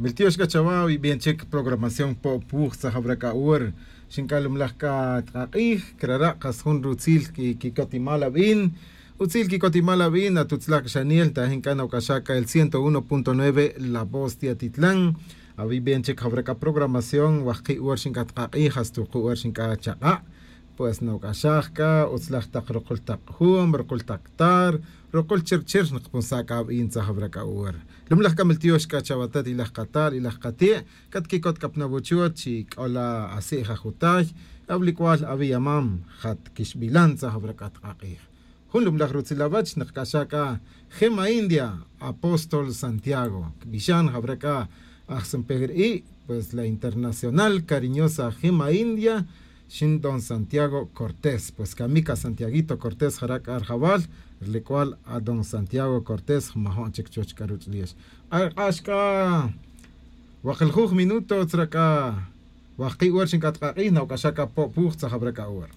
Miltiox kachawa y bien chek programación po puj tzajabraka ur xinkalumlaj ka tqaq'ij krara qas jun rutzil ki kikotimal ab'in utzil kikotimal ab'in atutzlaq xaniel tajin kan awk'axaka el 101.9 La Voz de Atitlán abi bien chek jabraka programación wajqi ur xinkatqaq'ij hasta ur xinka chaq'a pues nawk'axajka utzlaj taq ruqul taq jum ruqul taq tar ruqul chirchir nqpunsaka ab'in tzajabraka ur lumlaj kamiltiox kachawatat ilaj qatar ilaj qatie' katkikot kapnabuchuot chi k'ola asi'j ajutay ablikwal abiyamam jat kixb'ilan tzajabraka tqaq'ij jun lumlaj rutzilawach nqk'axaka Gema India Apóstol Santiago kb'ixan jabraka aj Sempejri'i pues la internacional cariñosa Gema India xin don Santiago Cortés pues kamika Santiaguito Cortés jarak arjabal rlikwal a don Santiago Cortés majon chik chuch karuch liex axka waqiljuj minuto tzraka waqi ur xinkatqaq'ij nawk'axaka po puj tzajabraka ur.